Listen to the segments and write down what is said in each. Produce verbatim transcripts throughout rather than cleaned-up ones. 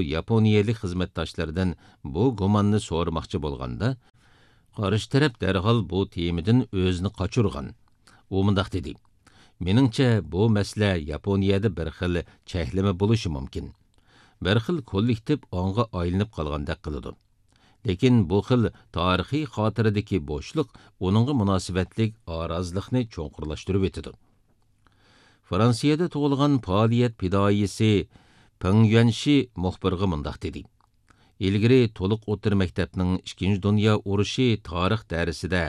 ياپونىيەلىك خىزمەتداشلىرىدىن بۇ گۇماننى سورىماقچى بولغاندا، قارشى تەرەپ دەرھال بۇ تېمىدىن ئۆزىنى قاچۇرغان. ئۇ مۇنداق دېدى: «مېنىڭچە، بۇ مەسىلە ياپونىيەدە بىر خىل چەكلىمە بولۇشى مۇمكىن. بىر خىل كوللېكتىپ ئاڭغا ئايلىنىپ قالغاندەك قىلىدۇ. لېكىن بۇ خىل تارىخىي خاتىرىدىكى بوشلۇق ئۇنىڭغا مۇناسىۋەتلىك ئارازلىقنى چوڭقۇرلاشتۇرۇۋېتىدۇ.» فرانسىيەدە تۇغۇلغان پائالىيەت پىدائىيسى پېڭ يۈەنشى مۇخبىرغا مۇنداق دېدى: «ئىلگىرى تولۇق ئوتتۇرا مەكتەپنىڭ ئىككىنچى دۇنيا ئۇرۇشى تارىخ دەرسىدە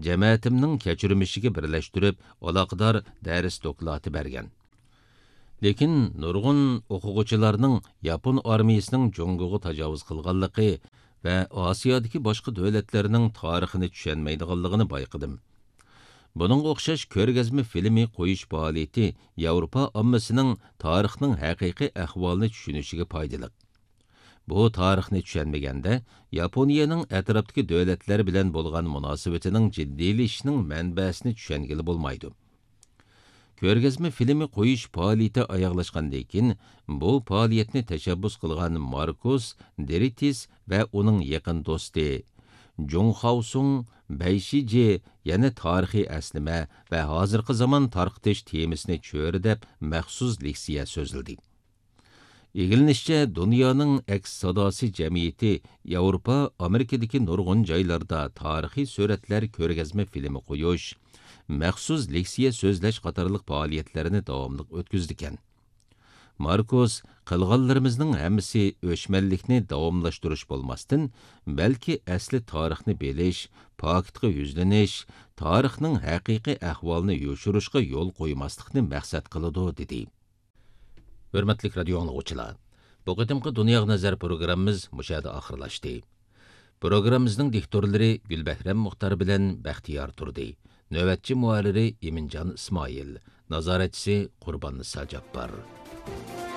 جەمەتىمنىڭ كەچۈرمىشىگە بىرلەشتۈرۈپ ئالاقىدار دەرس دوكلاتى بەرگەن. لېكىن نۇرغۇن ئوقۇغۇچىلارنىڭ ياپون ئارمىيىسىنىڭ جۇڭگوغا تاجاۋۇز قىلغانلىقى ۋە ئاسىيادىكى باشقا دۆلەتلەرنىڭ تارىخىنى چۈشەنمەيدىغانلىقىنى بايقىدىم. بۇنىڭغا ئوخشاش كۆرگەزمە فىلىمى قويۇش پائالىيىتى ياۋروپا ئاممىسىنىڭ تارىخنىڭ ھەقىقىي ئەھۋالىنى چۈشىنىشىگە پايدىلىق. بۇ تارىخنى چۈشەنمىگەندە، ياپونىيەنىڭ ئەتراپتىكى دۆلەتلەر بىلەن بولغان مۇناسىۋىتىنىڭ جىددىيلىشىشىنىڭ مەنبەسىنى چۈشەنگىلى بولمايدۇ.» كۆرگەزمە فىلىمى قويۇش پائالىيىتى ئاياغلاشقاندىن كېيىن، بۇ پائالىيەتنى تەشەببۇس قىلغان ماركوس دېرىتىس ۋە ئۇنىڭ يېقىن دوستى جۇڭ خاۋسۇڭ، بەي شىجې يەنە تارىخىي ئەسلىمە ۋە ھازىرقى زامان تارقىتىش تېمىسىنى چۆرىدەپ مەخسۇس لېكسىيە سۆزلىدى. ئىگىلىنىشىچە، دۇنيانىڭ ئەكس ساداسى جەمئىيىتى ياۋروپا، ئامېرىكىدىكى نۇرغۇن جايلاردا تارىخىي سۈرەتلەر كۆرگەزمە فىلىمى قويۇش، مەخسۇس لېكسىيە سۆزلەش قاتارلىق پائالىيەتلەرنى داۋاملىق ئۆتكۈزىدىكەن. ماركوس: «قىلغانلىرىمىزنىڭ ھەممىسى ئۆچمەنلىكنى داۋاملاشتۇرۇش بولماستىن، بەلكى ئەسلى تارىخنى بىلىش، پاكىتقا يۈزلىنىش، تارىخنىڭ ھەقىقىي ئەھۋالىنى يوشۇرۇشقا يول قويماسلىقنى مەقسەت قىلىدۇ» دېدى. ھۆرمەتلىك رادىيو ئاڭلىغۇچىلار، بۇ قېتىمقى دۇنياغا نەزەر پروگراممىمىز مۇشۇ يەردە ئاخىرلاشتى. پروگراممىمىزنىڭ دىكتورلىرى گۈلبەھرەم مۇختار بىلەن بەختىيار تۇردى. نۆۋەتچى مۇھەررىرى ئىمىنجان ئىسمائىل. نازارەتچىسى قۇرباننىسا جاپپار.